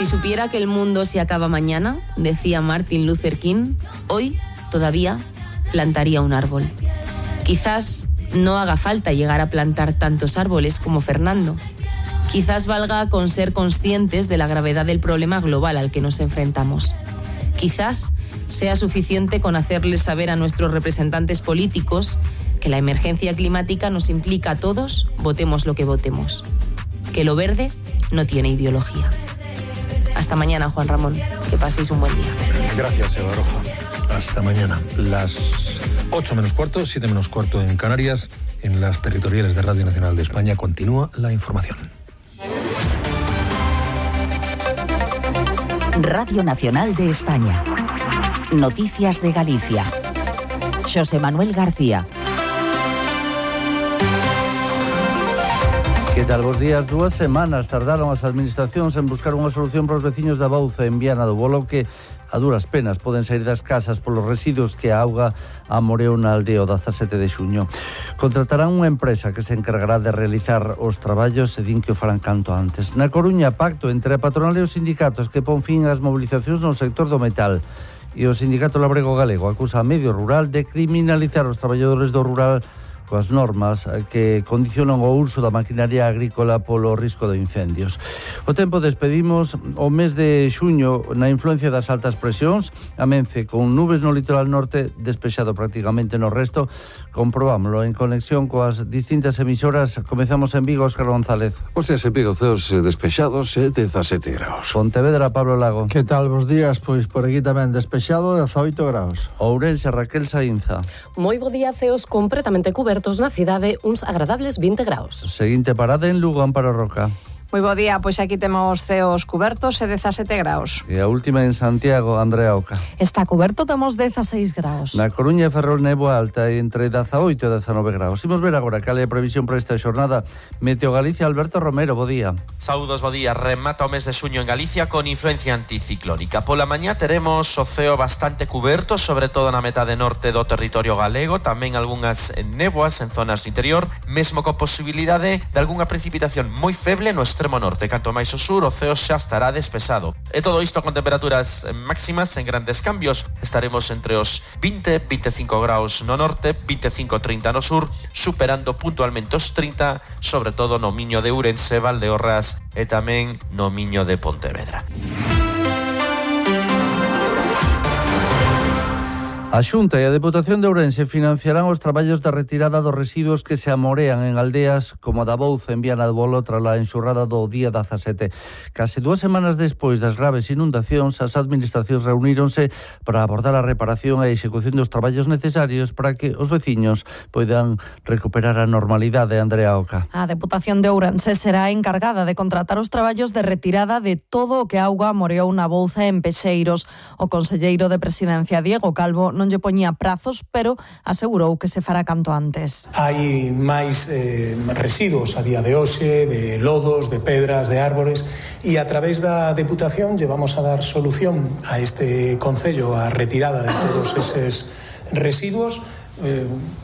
Si supiera que el mundo se acaba mañana, decía Martin Luther King, hoy todavía plantaría un árbol. Quizás no haga falta llegar a plantar tantos árboles como Fernando. Quizás valga con ser conscientes de la gravedad del problema global al que nos enfrentamos. Quizás sea suficiente con hacerles saber a nuestros representantes políticos que la emergencia climática nos implica a todos, votemos lo que votemos. Que lo verde no tiene ideología. Hasta mañana, Juan Ramón. Que paséis un buen día. Gracias, Eva Roja. Hasta mañana. Las 8 menos cuarto, 7 menos cuarto en Canarias. En las territoriales de Radio Nacional de España continúa la información. Radio Nacional de España. Noticias de Galicia. Xosé Manuel García. Que tal, bos días? 2 semanas tardaron as administracións en buscar unha solución para os veciños da Bouza en Viana do Bolo que a duras penas poden sair das casas polos residuos que a auga amoreou na aldea o 17 de xuño. Contratarán unha empresa que se encargará de realizar os traballos e din que o farán canto antes. Na Coruña, pacto entre a patronal e os sindicatos que pon fin ás mobilizacións no sector do metal. E o Sindicato Labrego Galego acusa a Medio Rural de criminalizar os traballadores do rural coas normas que condicionan o uso da maquinaria agrícola polo risco de incendios. O tempo despedimos o mes de xuño na influencia das altas presións, amense con nubes no litoral norte, despexado prácticamente no resto. Comprobámoslo en conexión coas distintas emisoras. Comezamos en Vigo, Óscar González. Os días en Vigo, ceos despexados e 17 graus. Pontevedra, Pablo Lago. Que tal, bos días? Pois por aquí tamén despexado, 18 graus. Ourense, Raquel Saínza. Moi bo día, ceos completamente cubertos na cidade, uns agradables 20 graus. Seguinte parada en Lugo, Amparo Roca. Moi bo día, pois aquí temos ceos cubertos e 17 graus. E a última en Santiago, Andrea Oca. Está cuberto, temos 16 graus. Na Coruña e Ferrol néboa alta entre 18 e 19 graus. Imos ver agora cal é a previsión para esta xornada. Meteo Galicia, Alberto Romero, bo día. Saúdos, bo día. Remata o mes de xuño en Galicia con influencia anticiclónica. Pola mañá teremos o ceo bastante cuberto, sobre todo na metade norte do territorio galego, tamén algunhas néboas en zonas do interior, mesmo con posibilidade de algunha precipitación moi feble no extremo norte. Canto máis ao sur, o ceo xa estará despexado. E todo isto con temperaturas máximas en grandes cambios. Estaremos entre os 20-25 graus no norte, 25-30 no sur, superando puntualmente os 30, sobre todo no Miño de Ourense, Valdeorras e tamén no Miño de Pontevedra. A Xunta e a Deputación de Ourense financiarán os traballos de retirada dos residuos que se amorean en aldeas como a da Bouza en Viana do Bolo tras a enxurrada do día 17. Case 2 semanas despois das graves inundacións, as administracións reuníronse para abordar a reparación e a execución dos traballos necesarios para que os veciños poidan recuperar a normalidade. Andrea Oca. A Deputación de Ourense será encargada de contratar os traballos de retirada de todo o que a auga amoreou na Bouza en Pexeiros. O conselleiro de Presidencia, Diego Calvo, non lle poñía prazos, pero asegurou que se fará canto antes. Hai máis residuos a día de hoxe, de lodos, de pedras, de árbores, e a través da Deputación lle vamos a dar solución a este concello, a retirada de todos eses residuos.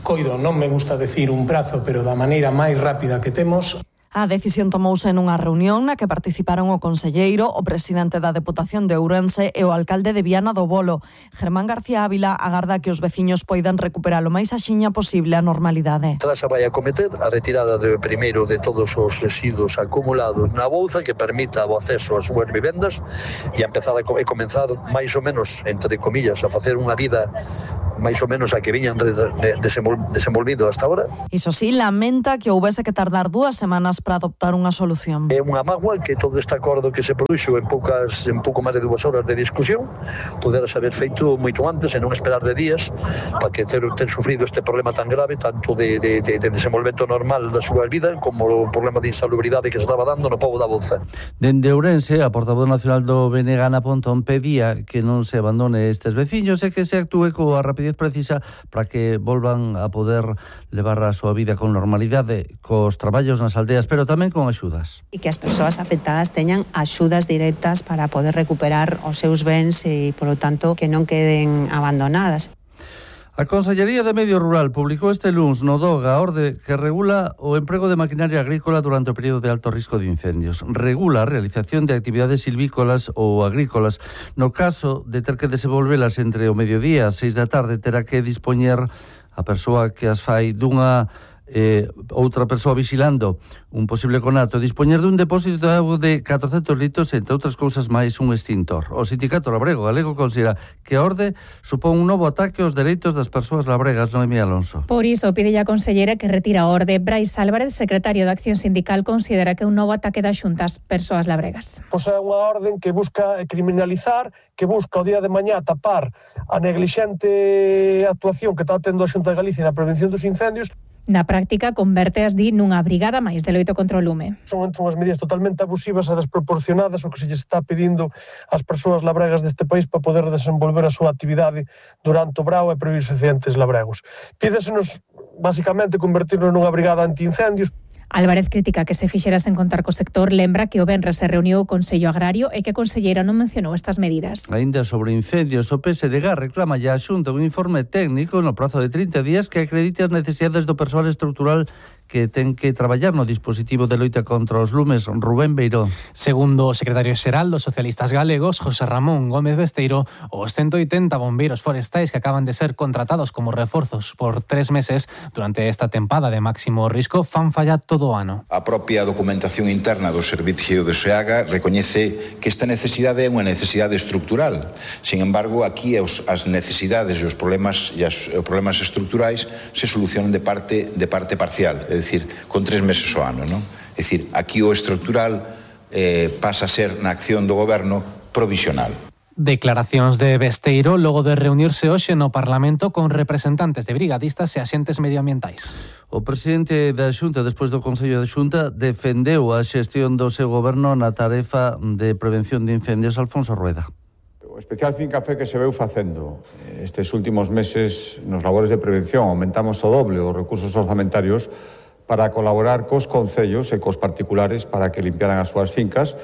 Coido, non me gusta decir un prazo, pero da maneira máis rápida que temos. A decisión tomouse nunha reunión na que participaron o conselleiro, o presidente da Deputación de Ourense e o alcalde de Viana do Bolo. Germán García Ávila agarda que os veciños poidan recuperar o máis axiña posible a normalidade. Trasa vai a cometer a retirada de primeiro de todos os residuos acumulados na Bouza que permita o acceso ás súas vivendas e empezar a comenzar máis ou menos, entre comillas, a facer unha vida máis ou menos a que viñan desenvolvido hasta ahora. Iso sí, lamenta que houbese que tardar 2 semanas para adoptar unha solución. É unha mágoa que todo este acordo que se produxo en pouco máis de 2 horas de discusión pudera haber feito moito antes e non esperar de días para que ter sufrido este problema tan grave, tanto de desenvolvemento normal da súa vida como o problema de insalubridade que se estaba dando no pobo da Bouza. Dende Ourense, a portavoz nacional do BNG, Ana Pontón, pedía que non se abandone estes veciños e que se actúe coa rapidez precisa para que volvan a poder levar a súa vida con normalidade, cos traballos nas aldeas, pero tamén con axudas. E que as persoas afectadas teñan axudas directas para poder recuperar os seus bens e, polo tanto, que non queden abandonadas. A Consellería de Medio Rural publicou este luns no DOG a orde que regula o emprego de maquinaria agrícola durante o período de alto risco de incendios. Regula a realización de actividades silvícolas ou agrícolas. No caso de ter que desenvolvelas entre o mediodía e as 6 da tarde, terá que dispoñer a persoa que as fai dunha outra persoa vigilando un posible conato, dispoñer dun depósito de auga de 400 litros, entre outras cousas máis un extintor. O Sindicato Labrego Galego considera que a orde supón un novo ataque aos dereitos das persoas labregas. Noemí Alonso. Por iso pide a conselleira que retira a orde. Brais Álvarez, secretario de Acción Sindical, considera que é un novo ataque das xuntas persoas labregas. Pois é unha orden que busca criminalizar, que busca o día de mañá tapar a neglixente actuación que está tendo a Xunta de Galicia na prevención dos incendios. Na práctica, converte as DI nunha brigada máis de loito contra o lume. Son unhas medidas totalmente abusivas e desproporcionadas o que se lles está pedindo ás persoas labregas deste país para poder desenvolver a súa actividade durante o brao e previos accidentes labregos. Pídesenos, basicamente, convertirnos nunha brigada antiincendios. Álvarez critica que se fixera sen contar co sector, lembra que o venres se reuniu o Consello Agrario e que a conselleira non mencionou estas medidas. Ainda sobre incendios, o PSDG reclama ya a Xunta un informe técnico no prazo de 30 días que acredite as necesidades do persoal estrutural que ten que traballar no dispositivo de loita contra os lumes. Rubén Beiró. Segundo o secretario xeral dos socialistas galegos, José Ramón Gómez Besteiro, os 180 bombeiros forestais que acaban de ser contratados como reforzos por 3 meses durante esta tempada de máximo risco fan fallar todo o ano. A propia documentación interna do Servicio de SEAGA recoñece que esta necesidade é unha necesidade estructural. Sin embargo, aquí as necesidades e os problemas estructurais se solucionan de parte parcial, é dicir, con 3 meses ao ano, non? É dicir, aquí o estructural pasa a ser na acción do goberno provisional. Declaracións de Besteiro logo de reunirse hoxe no Parlamento con representantes de brigadistas e axentes medioambientais. O presidente da Xunta, despois do Consello da Xunta, defendeu a xestión do seu goberno na tarefa de prevención de incendios. Alfonso Rueda. O especial Fincafé que se veu facendo estes últimos meses nos labores de prevención, aumentamos o doble os recursos orzamentarios para colaborar cos concellos e cos particulares para que limpiaran as súas fincas.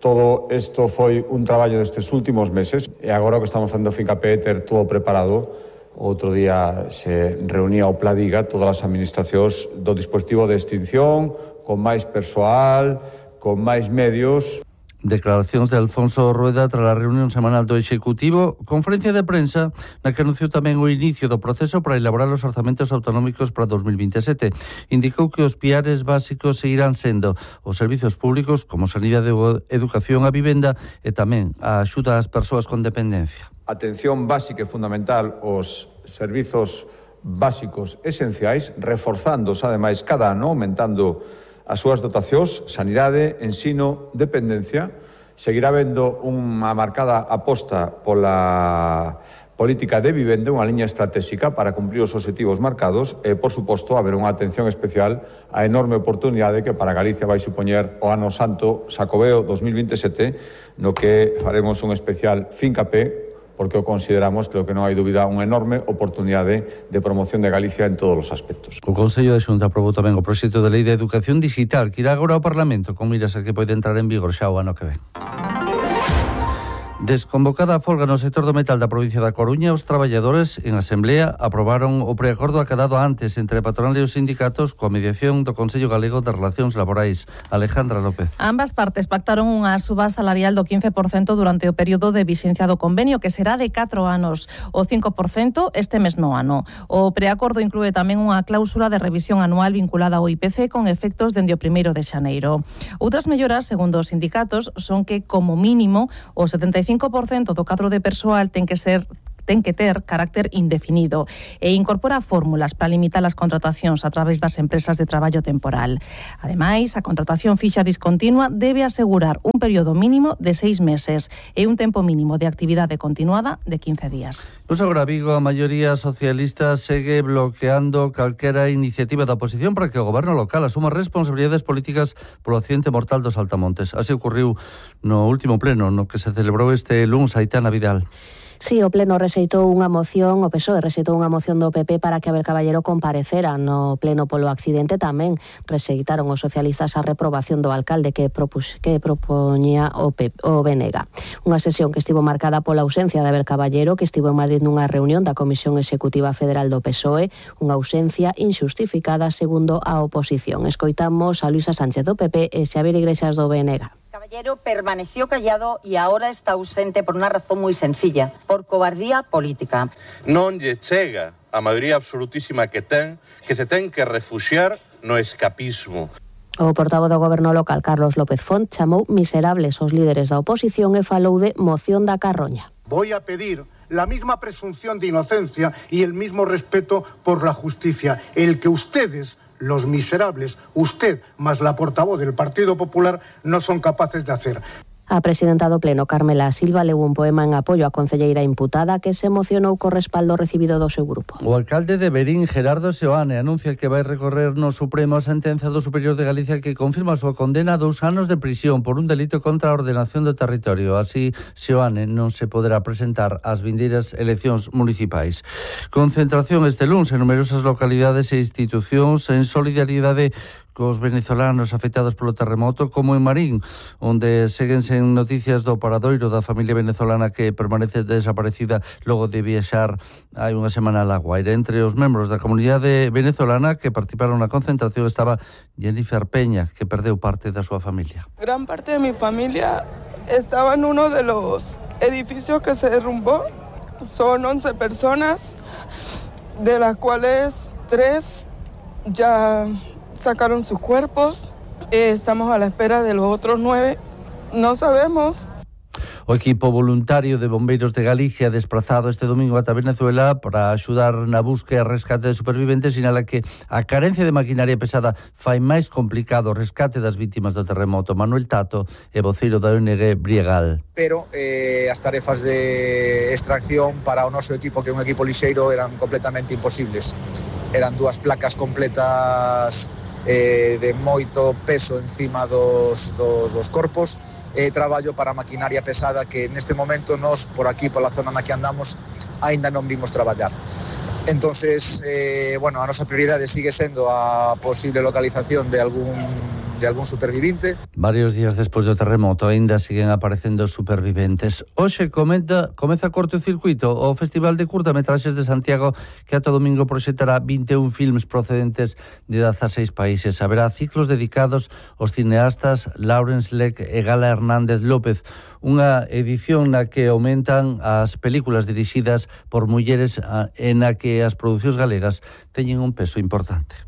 Todo isto foi un traballo destes últimos meses e agora o que estamos facendo Fincapé é ter todo preparado. Outro día se reunía o Pladiga, todas as administracións do dispositivo de extinción, con máis persoal, con máis medios. Declaracións de Alfonso Rueda tras a reunión semanal do Executivo, conferencia de prensa na que anunciou tamén o inicio do proceso para elaborar os orzamentos autonómicos para 2027. Indicou que os piares básicos seguirán sendo os servizos públicos como sanidade, educación, a vivenda e tamén a axuda ás persoas con dependencia. Atención básica e fundamental aos servizos básicos esenciais, reforzándose ademais cada ano, aumentando as súas dotacións, sanidade, ensino, dependencia. Seguirá vendo unha marcada aposta pola política de vivenda, unha liña estratégica para cumprir os obxectivos marcados e, por suposto, haber unha atención especial á enorme oportunidade que para Galicia vai supoñer o Ano Santo Xacobeo 2027, no que faremos un especial Fincapé, porque o consideramos, creo que non hai dúbida, unha enorme oportunidade de promoción de Galicia en todos os aspectos. O Consello da Xunta aprobou tamén o proxecto de lei de educación digital que irá agora ao Parlamento con miras a que pode entrar en vigor xa o ano que ven. Desconvocada a folga no sector do metal da provincia da Coruña, os traballadores en asemblea aprobaron o preacordo acadado antes entre a patronal e os sindicatos coa mediación do Consello Galego de Relacións Laborais. Alejandra López. Ambas partes pactaron unha suba salarial do 15% durante o período de vixencia do convenio, que será de 4 anos, o 5% este mesmo ano. O preacordo inclúe tamén unha cláusula de revisión anual vinculada ao IPC con efectos dende o 1 de xaneiro. Outras melloras, segundo os sindicatos, son que, como mínimo, o 75% do cadro de persoal ten que ter carácter indefinido e incorpora fórmulas para limitar as contratacións a través das empresas de traballo temporal. Ademais, a contratación fixa discontinua debe asegurar un período mínimo de 6 meses e un tempo mínimo de actividade continuada de 15 días. Pois agora Vigo, a maioría socialista segue bloqueando calquera iniciativa da oposición para que o goberno local asuma responsabilidades políticas polo accidente mortal dos Altamontes. Así ocurriu no último pleno no que se celebrou este luns. Aitana Vidal. Sí, o Pleno rexeitou unha moción, o PSOE rexeitou unha moción do PP para que Abel Caballero comparecera no Pleno polo accidente. Tamén rexeitaron os socialistas a reprobación do alcalde que propoñía o BNG. Unha sesión que estivo marcada pola ausencia de Abel Caballero, que estivo en Madrid nunha reunión da Comisión Executiva Federal do PSOE, unha ausencia inxustificada segundo a oposición. Escoitamos a Luisa Sánchez do PP e Xavier Iglesias do BNG. Caballero permaneció callado y ahora está ausente por una razón muy sencilla, por cobardía política. Non lle chega a maioría absolutísima que se ten que refuxiar no escapismo. O portavoz do Goberno local, Carlos López Font, chamou miserables os líderes da oposición e falou de moción da carroña. Voy a pedir la misma presunción de inocencia y el mismo respeto por la justicia, el que ustedes, los miserables, usted más la portavoz del Partido Popular, no son capaces de hacer. A presidenta do Pleno, Carmela Silva, leu un poema en apoio á concelleira imputada que se emocionou co respaldo recibido do seu grupo. O alcalde de Verín, Gerardo Seoane, anuncia que vai recorrer no Supremo a sentenza do Superior de Galicia que confirma a súa condena a 2 anos de prisión por un delito contra a ordenación do territorio. Así, Seoane non se poderá presentar ás vindeiras eleccións municipais. Concentración este luns en numerosas localidades e institucións en solidariedade cos venezolanos afectados polo terremoto, como en Marín, onde seguense noticias do paradoiro da familia venezolana que permanece desaparecida logo de viaxar hai unha semana a La Guaira. Entre os membros da comunidade venezolana que participaron na concentración estaba Jennifer Peña, que perdeu parte da súa familia. Gran parte de mi familia estaba en uno de los edificios que se derrumbó. Son 11 personas, de las cuales 3 ya sacaron sus cuerpos. Estamos a la espera de los otros 9. No sabemos. O equipo voluntario de bombeiros de Galicia desplazado este domingo ata Venezuela para axudar na búsqueda e rescate de superviventes sinala que a carencia de maquinaria pesada fai máis complicado o rescate das vítimas do terremoto. Manuel Tato é voceiro da ONG Briegal. Pero as tarefas de extracción para o noso equipo, que é un equipo lixeiro, eran completamente imposibles. Eran 2 placas completas de moito peso encima dos corpos e traballo para maquinaria pesada que neste momento nós por aquí, pola zona na que andamos, aínda non vimos traballar. Entonces, a nosa prioridade sigue sendo a posible localización de algún supervivente. Varios días despois do terremoto aínda siguen aparecendo superviventes. Hoxe comeza Cortocircuito, o Festival de Curtametraxes de Santiago, que ata domingo proxectará 21 filmes procedentes de 16 países. Haberá ciclos dedicados aos cineastas Lawrence Leck e Gala Hernández López, unha edición na que aumentan as películas dirixidas por mulleres e na que as producións galegas teñen un peso importante.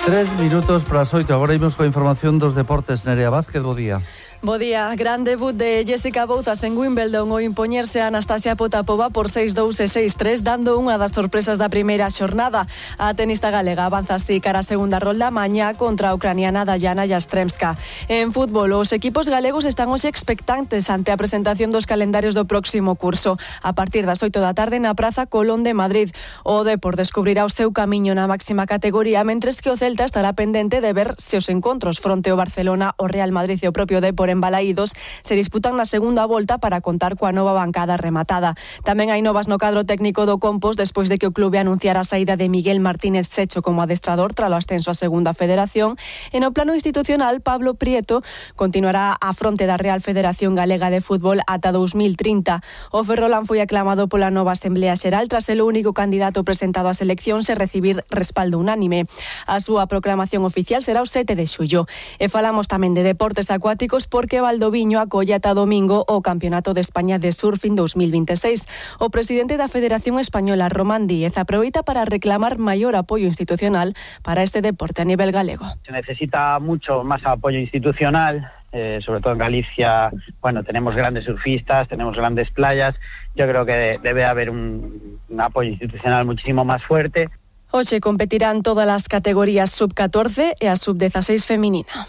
3 minutos para as 8. Agora imos coa información dos deportes. Nerea Vázquez, bo día. Bo día. Gran debut de Jessica Bouzas en Wimbledon ao impoñerse a Anastasia Potapova por 6-2 e 6-3, dando unha das sorpresas da primeira xornada. A tenista galega avanza así cara a segunda rolda mañá contra a ucraniana Dayana Yastremska. En fútbol, os equipos galegos están hoxe expectantes ante a presentación dos calendarios do próximo curso. A partir das 8 da tarde na Praza Colón de Madrid. O Depor descubrirá o seu camiño na máxima categoría, mentres que o Celta estará pendente de ver se os encontros fronte ao Barcelona, o Real Madrid e o propio Depor en Balaídos se disputan na segunda volta para contar coa nova bancada rematada. Tamén hai novas no cadro técnico do Compos despois de que o clube anunciara a saída de Miguel Martínez Secho como adestrador tralo ascenso a segunda federación. E no plano institucional, Pablo Prieto continuará á fronte da Real Federación Galega de Fútbol ata 2030. O Ferrolán foi aclamado pola nova Asamblea Xeral tras ser o único candidato presentado ás eleccións e recibir respaldo unánime. A súa proclamación oficial será o 7 de xullo. E falamos tamén de deportes acuáticos porque Valdoviño acolle ata domingo o Campeonato de España de Surfing 2026. O presidente da Federación Española, Román Díez, aproveita para reclamar maior apoio institucional para este deporte a nivel galego. Se necesita mucho más apoyo institucional, sobre todo en Galicia. Tenemos grandes surfistas, tenemos grandes playas. Yo creo que debe haber un apoyo institucional muchísimo más fuerte. Hoxe competirán todas as categorías sub-14 e a sub-16 feminina.